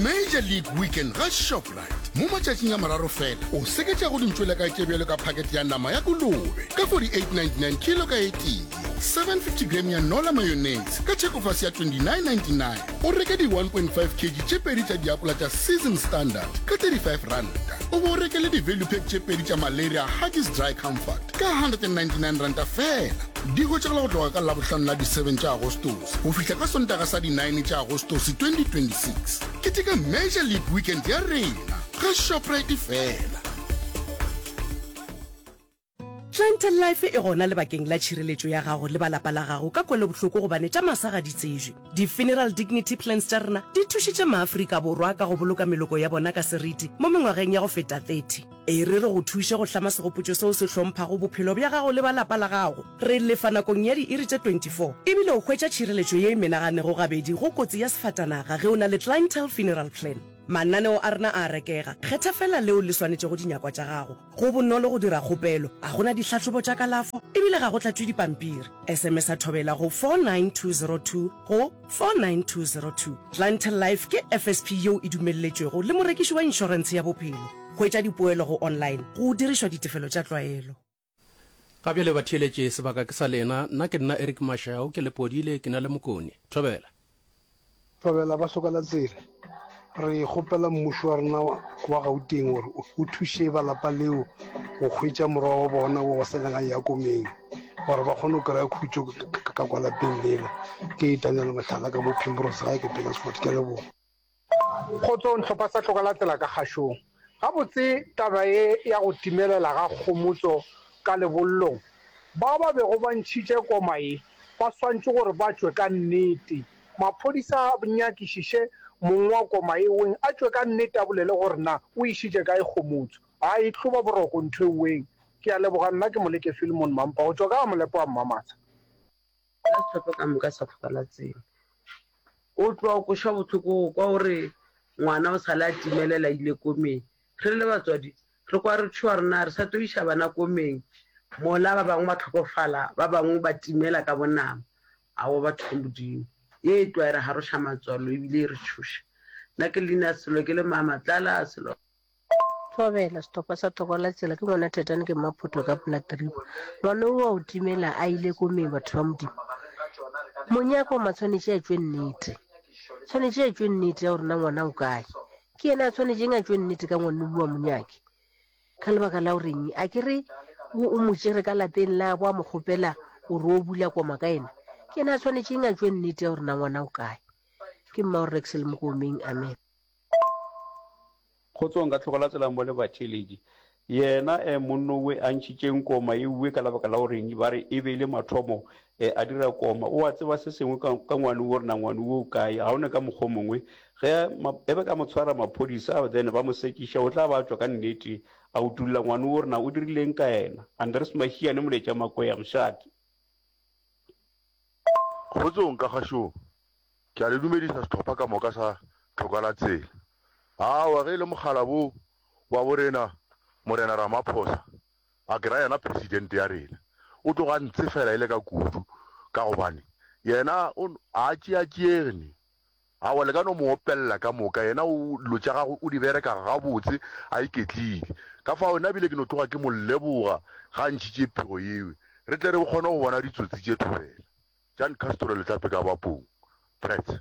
Major League Weekend ga Shoprite. Mo matšatšing a mararo fela, o seketša go dintšwelekae tše bjalo ka phakete ya nama ya kolobe ka 48.99 kilo ka e tee, 750 gram ya Nola mayonnaise ka thekofase ya 29.99, o reke di 1.5 kg tše pedi tša diapola tša Season Standard ka 35 ranta, o bo o reke le di-value pack tše pedi tša Malaria Huggies Dry Comfort ka 199 ranta fela. Di hwetšagala go tloga ka Labohlano la di 7 tša Agostose go fihla ka Sontaga sa di 9 tša Agostose 2026. Keteka Major League Weekend ya rena ga Shoprite fela. Clientele Life e gona lebakeng la tšhireletšo ya gago le ba lapa la gago ka kwelobohloko gobane tša masa ga di tsejwe. Di-Funeral Dignity Plans tša rena di thušitše maAfrika Borwa ka go boloka meloko ya bona ka seriti mo mengwageng ya go feta 30. E re re go thuše go hlama segopotšo seo se hlomphago bophelo bja gago le ba lapa la gago. Re lefa nakong ya diiri tše 24, e bile o hwetša tšhireletšo ye e menaganego gabedi go kotsi ya sefatanaga ge o na le Clientele Funeral Plan. Mananeo a rena a a rekega, kgetha feela leo le swanetšego dinyakwa tša gago. Go bonolo go dira kgopelo, ga go na dihlahlobo tša kalafo e bile ga go tlatšwe dipampiri. SMS-a Thobela go 49202 go 49202. Clientele Life ke FSP yeo e dumelletšwego le morekiši wa inšorentshe ya bophelo. Hwetša dipoelo go online go dirišwa ditefelo tša tlwaelo. Ga bjale batheeletši, sebaka ke sa lena. Nna ke nna Eric Mashau, ke Lepodile, ke na le Mokone. Thobela. Thobela ba hloka la tsela. Re kgopela mmušo wa rena wa Gauteng gore o thuše ba lapa leo go hwetša morwa wa bona wo wa sa leng a eya komeng gore ba kgone go kry-a khutšo ka kwa lapeng lela. Ke Daniel Mohlala ka mo Primrose gae ke Petersfort. Ke a leboga. Kgotsong hlopha sa Hloka la Tsela ka kgašong. Gabotse taba ye ya go timelela ga Kgomotso ka lebollong, bao ba bego ba ntšhitše koma ye ba swantše gore ba tšwe ka nnete. Maphodisa a nyakišiše mong wa koma ye weng a tšwe ka nnete a bolele gore na o išitše kae Kgomotso. Ga e tlo ba boroko ntho e weng. Ke a leboga nna ke Moleke Philemon Mampa go tšwa ka ga Molepo wa Mmamatsha. Ka sehlopha ka moka sa Hloka la Tsela. O tloga o kwešwa bohloko go kwa gore ngwana o sale a timelela a ile komeng. Re le batswadi re kwa re tšhoga re na re sa tlo iša bana komeng mola ba bangwe ba hlokofala, ba bangwe ba timela ka bonama. Aowa batho ba Modimo, ye e tloga e re garoša matswalo ebile e re tšhoša. Nna ke leina selo ke le mama tlala selo. Thobela, sehlopha sa Thoko la Tsela, ke ngwana Thetane ke Mmaphotho ka Platteeep. Ngwana o wa o timela a ile komeng batho ba Modimo. Monyaka o matshwanetše a tšwe nnete. Tshwanetše a tšwe nnete ya gore na ngwana o kae. Ke yena a tshwanetšeng a tšwe nnete ka ngwana wa monyake. Ka lebaka la goreng a ke re o mo tšere ka lapeng la bo a mo kgopela gore o bula koma ka yena. Ke yena a tshwanetšeng a tšwe nnete ya gore na ngwana o kae. Ke mma o Rex le Mokomeng. Amen. Kgotsong ka tlhogo la tsela mo le batheeletši. Yena eh monno we a ntšhitšeng koma ye uwe ka lebaka la goreng ba re e be e le mathomo eh a dira koma. O a tseba se sengwe ka, ka ngwano wo gore na ngwano wo o kae. Ga o ne ka mokgwa o mongwe. Ge ma, e be ka mo tshwara maphodisa then ba mo sekiša o tla ba a tšwa ka nnete a utulla ngwano wo gore na o dirileng ka yena. Andres Mahiane Moletša Makwea Mošate. Kgotsong ka kgašong. Ke a le dumedisa sehlopha ka moka sa Tlhoka la Tsela. Aowa ge e le mokgalabo wa bo rena Morena Ramaphosa, a ke ra yena President ya rena, o tloga a ntsefela e le ka kudu ka gobane yena o ga a tšeatšeege ne. Aowa le ka no mo opelela ka moka, yena o dilo tša gagwe o di bereka gabotse a iketlile. Ka fao nna bile ke no tloga ke mo leboga ga a ntšhitše pego yeo, re tle re kgone go bona ditsotsi tše thobela. Jan Castro Letlape ka Bapong, Prets.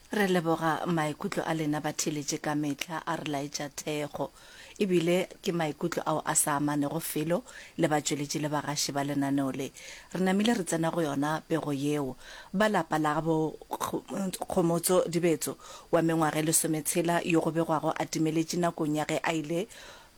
Re leboga maikutlo a lena batheeletši ka mehla a re laetša thekgo. Ebile ke maikutlo ao a sa amanego felo le batšweletši le bagaši ba lenaneo le. Re namile re tsena go yona pego yeo. Ba lapa la bo Kgomotso Dibetso wa mengwaga e lesometshela yo go begwago a timeletše nakong ya ge a ile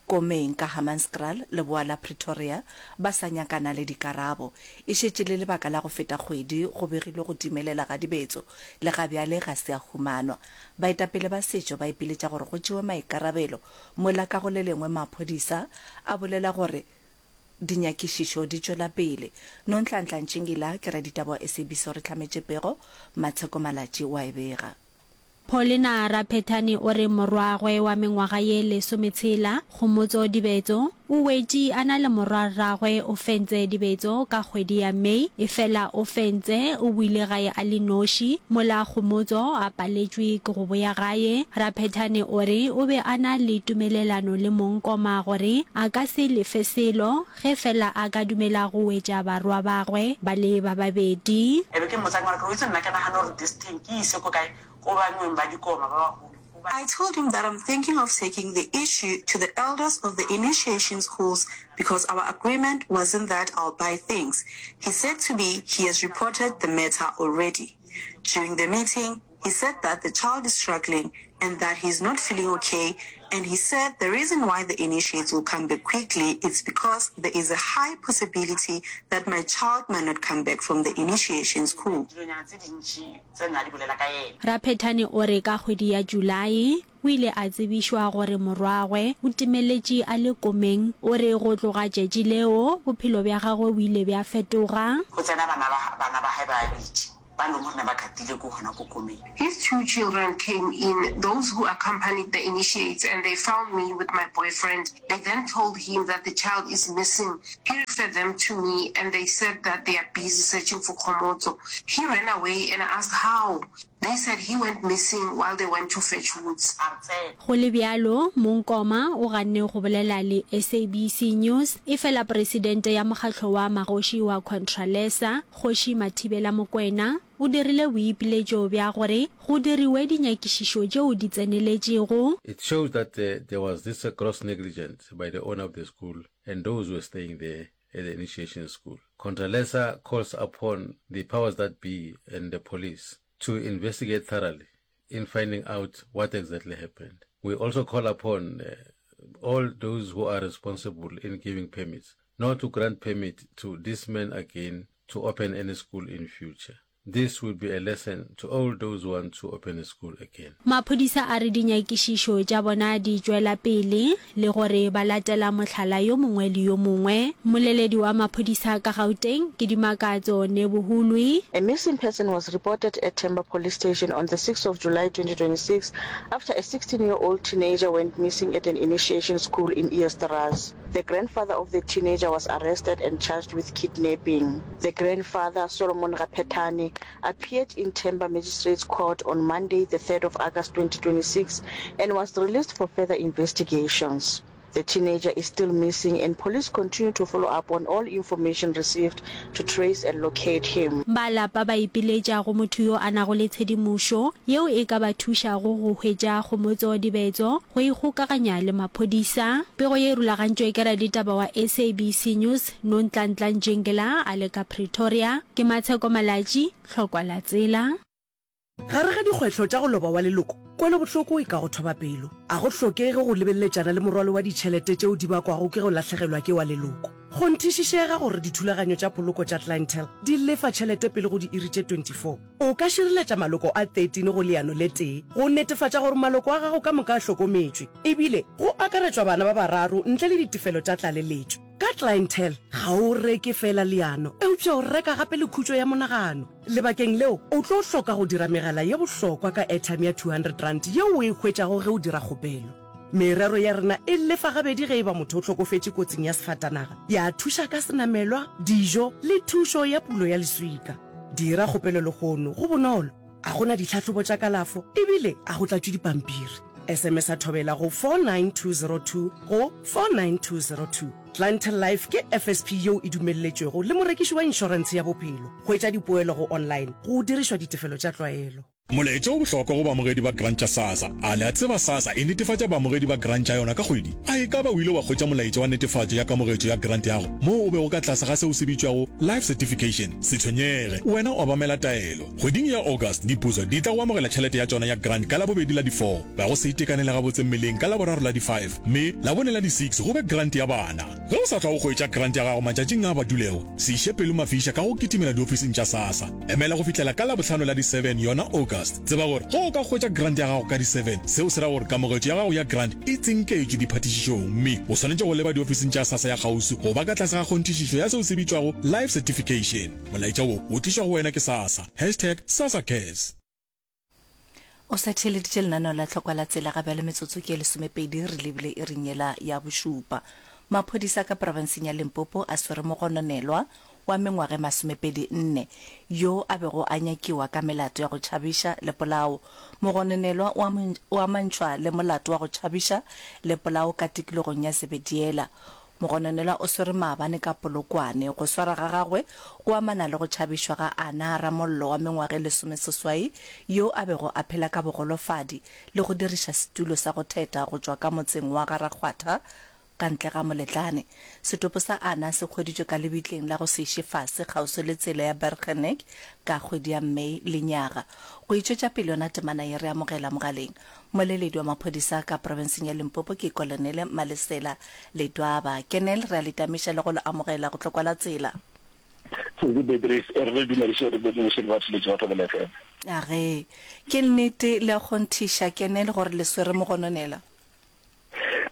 Komeng ka Hammanskraal, leboa la Pretoria, ba sa nyakana le dikarabo. E šetše le lebaka la go feta kgwedi go begilwe go timelela ga dibetso, le ga bjale ga se a humanwa. Baetapele ba setšo ba ipiletša gore go tšewe maikarabelo, mola ka go le lengwe maphodisa a bolela gore dinyakišišo di tšwela pele. Nonhlanhla Ntšingila ke raditaba wa SABC o re hlametše pego, Matsheko Malatji o a e bega. Paulina Raphethane o re morwagwe wa mengwaga ye lesometshela, Kgomotso Dibetso, O wetše a na le morwarragwe Ofentse Dibetso ka kgwedi ya May, efela Ofentse o boile gae a le noši, mola Kgomotso a paletšwe ke go boya gae. Raphethane o re o be a na le tumelelano le mongkoma gore a ka se lefe selo ge fela a ka dumela go wetša barwa bagwe ba le ba babedi. E be ke mmotsa ke re, O itse nna ke nagana gore this thing ke e ise ko kae, ko bangweng ba dikoma ba bagolo. I told him that I'm thinking of taking the issue to the elders of the initiation schools because our agreement wasn't that I'll buy things. He said to me he has reported the matter already. During the meeting, he said that the child is struggling and that he's not feeling okay and he said the reason why the initiates will come back quickly it's because there is a high possibility that my child might not come back from the initiation school. Tse ne a di bolela ka yena. Raphethane o re ka kgwedi ya Julae o ile a tsebišwa gore morwagwe o timeletše a le komeng. O re go tloga tšatši leo bophelo bja gagwe bo ile bja fetoga. Go tsena bana ba bana ba hae ba babedi ba leng gore ne ba katile ko gona ko komeng. His two children came in, those who accompanied the initiates, and they found me with my boyfriend. They then told him that the child is missing. He referred them to me and they said that they are busy searching for Kgomotso. He ran away and I asked how. They said he went missing while they went to fetch woods. Go le bjalo, Mong Koma o ganne go bolela le SABC News, efela presidente ya mokgatlo wa magoši wa Contralesa, Kgoši Mathibela Mokwena, o dirile boipiletšo bja gore go diriwe dinyakišišo tšeo di tseneletšego. It shows that there was this gross negligence by the owner of the school and those who were staying there at the initiation school. Contralesa calls upon the powers that be and the police to investigate thoroughly in finding out what exactly happened. We also call upon uh, all those who are responsible in giving permits not to grant permit to this man again to open any school in future. This will be a lesson to all those who want to open a school again. Maphodisa a re dinyakišišo tša bona di tšwela pele le gore ba latela mohlala yo mongwe le yo mongwe. Mmoleledi wa maphodisa ka Gauteng ke Dimakatso Nebuhulwi. A missing person was reported at Temba Police Station on the 6th of July 2026 after a 16-year-old teenager went missing at an initiation school in Eersterust. The grandfather of the teenager was arrested and charged with kidnapping. The grandfather, Solomon Raphethane, appeared in Temba Magistrates Court on Monday, the 3rd of August 2026, and was released for further investigations. The teenager is still missing and police continue to follow up on all information received to trace and locate him. Ba lapa ba ipiletša go motho yo a nago le tshedimošo yeo e ka ba thušago go hwetša Kgomotso Dibetso go ikgokaganya le maphodisa. Pego ye e rulagantšwe ke raditaba wa SABC News Nonhlanhla Njingila a le ka Pretoria. Ke Matsheko Malatji, Hlokwa la Tsela. Gare ga dikgwetlho tša go loba wa leloko, kwelobohloko e ka go thoba pelo. A go hlokege go lebeleletšana le morwalo wa ditšhelete tšeo di bakwago ke go lahlegelwa ke wa leloko. Kgonthišišega gore dithulaganyo tša poloko tša Clientele di lefa tšhelete pele go diiri tše 24. O ka šireletša maloko a 13 go leano le tee go netefatša gore maloko a gago ka moka a hlokometšwe, ebile go akaretšwa bana ba bararo ntle le ditefelo tša tlaleletšo. Ka Clientele, ga o reke feela leano, eupša o reka gape le khutšo ya monagano. Lebakeng leo, o tlo hloka go dira megala ye bohlokwa ka airtime ya R200 yeo o e hwetšago ge o dira kgopelo. Merero ya rena e lefa gabedi ge e ba motho o hlokofetše kotsing ya sefatanaga, ya thuša ka senamelwa, dijo le thušo ya pulo ya leswika. Dira kgopelo lehono, go bonolo, a go na ditlhahlobo tša kalafo ebile a go tlatšwe dipampiri. SMS-a Thobela go 49202 go 49202. Clientele Life ke FSP yeo e dumelletšwego le morekiši wa inšorentshe ya bophelo. Hwetša dipoelo go online go dirišwa ditefelo tša tlwaelo. Molaetša o bohlokwa go baamogedi ba grant tša SASSA. A le a tseba SASSA e netefatša baamogedi ba grant tša yona ka kgwedi? A e ka ba o ile wa hwetša molaetša wa netefatšo ya kamogetšo ya grant ya go moo o bego ka tlase ga seo se bitšwago Life Certification? Se tshwenyege, wena obamela taelo. Kgweding ya August, diputso di tla go amogela tšhelete ya tšona ya grant ka Labobedi la di four, ba go se itekanele gabotse mmeleng ka Laboraro la di five, mme Labone la di six go be grant ya bana. Ge o sa hlwa o hwetša grant ya gago matšatšing a a badulego, se iše pelo mafiša ka go kitimela diofising tša SASSA. Emela go fihlela ka Labohlano la di seven yona August. Tseba gore ge o ka hwetša grant ya gago ka di seven, seo se ra gore kamogetšo ya gago ya grant e tsinketšwe diphatišišong mme o swanetše go leba diofising tša SASSA ya kgauswi go ba ka tlase ga kgonthišišo ya seo se bitšwago Life Certification. Molaetša wo o tlišwa go wena ke SASSA. Hashtag SASSACares. O sa theeleditše lenaneo la Tlhokwa la Tsela ga bjale metsotso ke ye lesomepedi re lebile iring yela ya bošupa. Maphodisa ka profenseng ya Limpopo a swere mogononelwa wa mengwaga e masomepedi nne yo a bego a nyakiwa ka melato ya go tšhabiša le polao. Mogononelwa o amantšhwa le molato wa go tšhabiša le polao ka tikologong ya Zebediela. Mogononelwa o swerwe maabane ka Polokwane. Go swara ga gagwe go amana le go tšhabišwa ga Ana Ramollo wa mengwaga e lesomeseswai yo a bego a phela ka bogolofadi le go diriša setulo sa go theta go tšwa ka motseng wa Ga-Rakgwatha ka ntle ga Moletlane. Setopo sa Ana se hweditšwe ka lebitleng la go se iše fase kgauswi le tsela ya Bergenek ka kgwedi ya May lenyaga. Go e tšwetša pele yona temana ye re amogela mogaleng Mmoleledi wa maphodisa ka profenseng ya Limpopo ke Kolonele Malesela Ledwaba. Kenel, re a le tamiša le go le amogela go tlokwa la tsela. Sesi Beatrice, e re re dumediše, re dumediše le batheeletši ba Thobela FM. Age, ke nnete le a kgonthiša, Kenel, gore le swere mogononela?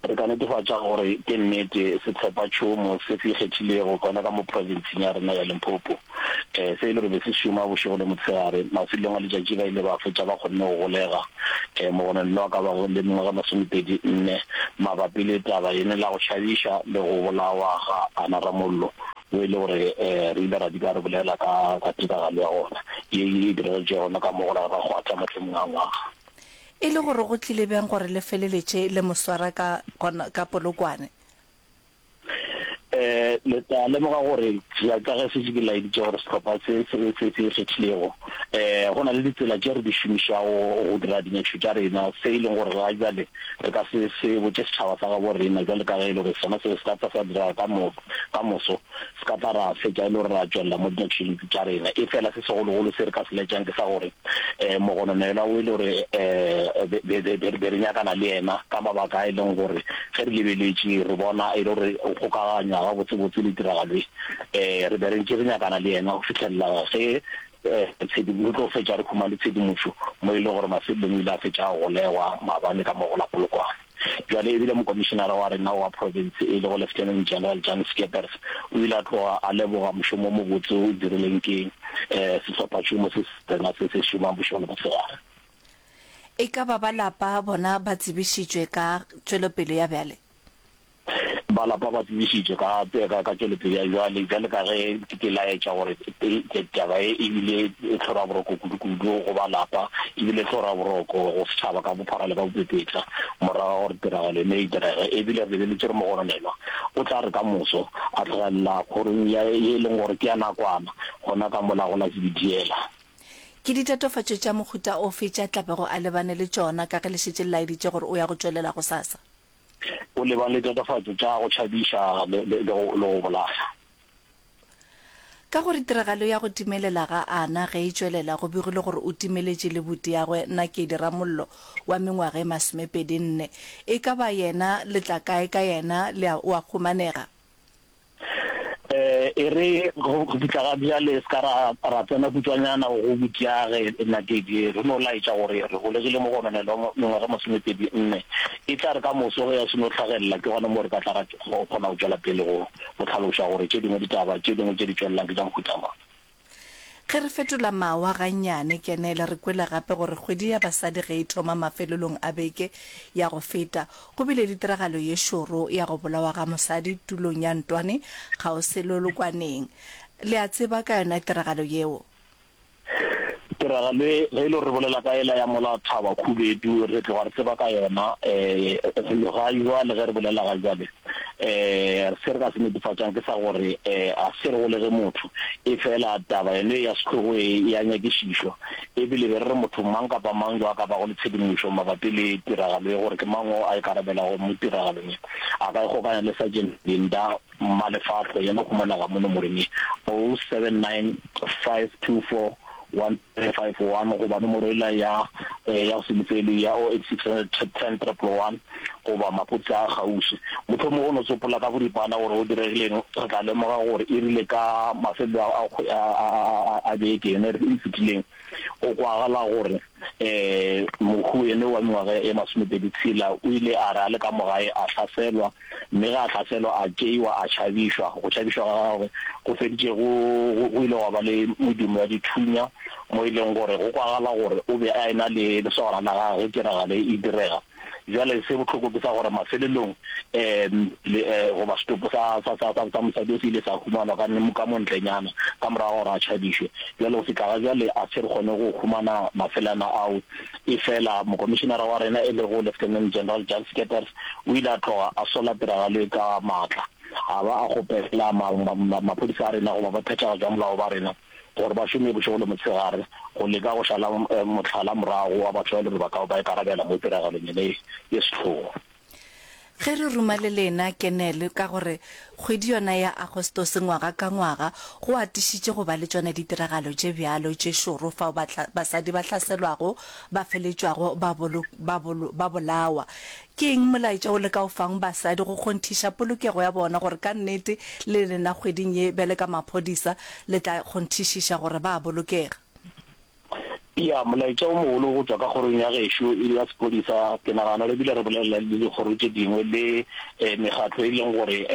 Re ka netefatša gore ke nnete, sehlophatšhomo se se ikgethilego gona ka mo profenseng ya rena ya Limpopo, se e le gore be se šoma bošego le motshegare. Mafelelong a letšatši ba ile ba fetša ba kgonne go golega mogononelwa a ka bago le mengwaga e masomepedi nne mabapi le taba yene la go tšhabiša le go bolawa ga Ana Ramollo, wo e le gore re ile ra dula re bolela ka ka tiragalo ya gona ye e diragetšego gona ka mo go la Rakgwatha mathomong a ngwaga. E le gore go tlile bjang gore le feleletše le mo swara ka, gona, ka Polokwane? Um le tla lemoga gore bjalo ka ge šetše ke laeditše gore sehlopha se se se se ikgethilego, um go na le ditsela tše re di šomišago go dira dinyakišo tša rena, se e leng gore ga bjale re ka se se botše setšhaba sa gabo rena bjalo ka ge e le gore sona seo se ka tla sa direga ka mo ka moso. Se ka tla ra fetša e le gore ra tšwelela mo dinyakišong tša rena. Efela se segologolo se re ka se laetšang ke sa gore mogononelwa o e le gore be re nyakana le yena ka mabaka a e leng gore ge re lebeletše re bona e le gore o kgokaganywa gabotsebotse le tiragalo e, re be re ntše re nyakana le yena go fihlelela ge re tlo fetša re humane tshedimošo mo e leng gore mafelelong o ile a fetša a golegwa maabane ka mo go la Polokwane. Bjale e bile mokomišenara wa rena wa profense e lego Lieutenant General Jan Scheepers o ile a tloga a leboga mošomo o mobotse o dirilweng ke sehlophatšhomo se se rena se se šomang bošego le mosegare. E ka ba ba lapa bona ba tsebišitšwe ka tšwelopele ya bjale? Ba lapa ba tsebišitšwe ka, ka, ka tšwelopele ya bjale, bjale ka ge ke laetša gore taba ye e bile e tlhoraboroko kudu-kudu go ba lapa, e bile tlhoraboroko go setšhaba ka bophara le ka bopepetla morago ga gore tiragalo eno e direge. E bile re lebeletše gore mogononelwa o tla re ka moso a tlogelela kgorong ya ye e leng gore ke ya nakwana gona ka mola go la Zebediela. Ke ditatofatšo tša mohuta ofe tša tla bego a lebane le tšona ka ge le šetše le laeditše gore o ya go tšwelela gosasa? O lebane le tatofatšo tša go tšhabiša le, le, le, go, le go bolaya. Ka gore tiragalo ya go timelela ga Ana ge e tšwelela, go begilwe gore o timeletše le butiagwe Nakedi Ramollo wa mengwaga e masomepedi nne. E ka ba yena le tla kae ka yena le a, o a humanega? E re go fihla ga bjale se ka ra, ra tsena kutšwanyana go butiage Nakedi, re no laetša gore re golegile mogononelwa wa mengwaga e masomepedi nne. E tla re ka moso ge a seno hlagelela ke gona moo re ka tla ra kgona go tšwela pele go, go hlaloša gore tše dingwe ditaba tše dingwe tše di tšwelelang ke tša mohuta mang. Ge re fetola mawa gannyane, Kenele, re kwele gape gore kgwedi ya basadi ge e thoma mafelelong a beke ya go feta, go bile le tiragalo ye šoro ya go bolawa ga mosadi tulong ya Ntwane kgauswi le Lokwaneng. Le a tseba ka yona tiragalo yeo? Tiragalo e, ge e le gore re bolela ka yela ya mola Thaba Khubedu, re tloga re tseba ka yona. Ga jwale ge re bolela ga jwale, Se re ka se netefatšang ke sa gore ga se re golege motho, efela taba yone ya sehlogo e e a nyakišišwa. E bile be re re motho mang kapa mang yo a ka bago le tshedimošo mabapi le tiragalo ye gore ke mang o a ikarabelago mo tiragalong ye, a ka ikgokanya le Sergeant Linda Mmalefahlo, yena o humanega mo nomorong ye, 079 524 1351 goba nomoro yela ya ya go se lefelwe ya 086 10 111 goba maphodisa a kgauswi. Mohlomongwe go no tsopola ka boripana gore go diregileng, re tla lemoga gore e rile ka mafelelo a, a, a, a beke yona e fetileng, go kwagala gore um mohu ene wa mengwaga e masomepedi tshela o ile a re a le ka mo gae a hlaselwa, mme ge a hlaselwa a tšeiwa a tšhabišwa. Go tšhabišwa ga gagwe go feditše go, go, go ile gwa ba le medumo ya dithunya mo e leng gore go kwagala gore o be a e-na le lesogana la gagwe ge tiragalo e direga. Bjale se bohloko ke sa gore mafelelong um le goba setopo sa sa sa sa mosadi o se ile sa humanwa ka ka mo ntlenyana ka morago ga gore a tšhabišwe. Bjale go fihla ga bjale a se re kgone go humana mafelana ao. Efela mokomišenara wa rena e lego Lieutenant General Jan Scheepers o ile a tloga a sola tiragalo ye ka maatla a ba a kgopela ma ma maphodisa a rena goba ba phethagatšo ya molao ba rena gore ba šome bošego le motshegare go leka go šala mohlala morago wa batho ba e le gore ba ka ba ikarabela mo tiragalong yena ye ye sehlogo. Ge re ruma le lena, Kenel, ka gore kgwedi yona ya Agostose ngwaga ka ngwaga go atišitše go ba le tšona ditiragalo tše bjalo tše šoro fao basadi ba hlaselwago ba feletšwago ba, ba, ba bolawa. Ke eng molaetša o le ka o fang basadi go kgonthiša polokego ya bona gore ka nnete le lena kgweding ye bjale ka maphodisa le tla kgonthišiša gore ba a bolokega? Ya, molaetša o mogolo go tšwa ka kgorong ya gešo ya sephodisa, ke nagana re bile re bolela le dikgoro tše dingwe le mekgatlo e leng gore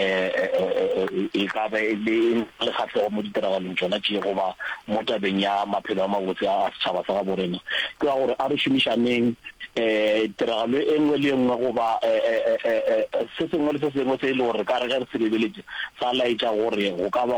e ka ba e le le kgahlego mo ditiragalong tšona tše goba mo tabeng ya maphelo a mabotse a setšhaba sa gabo rena, ke wa gore a re šomišaneng tiragalo e nngwe le e nngwe goba se sengwe le se sengwe se e le gore re ka re ge re se lebeletše sa laetša gore go ka ba.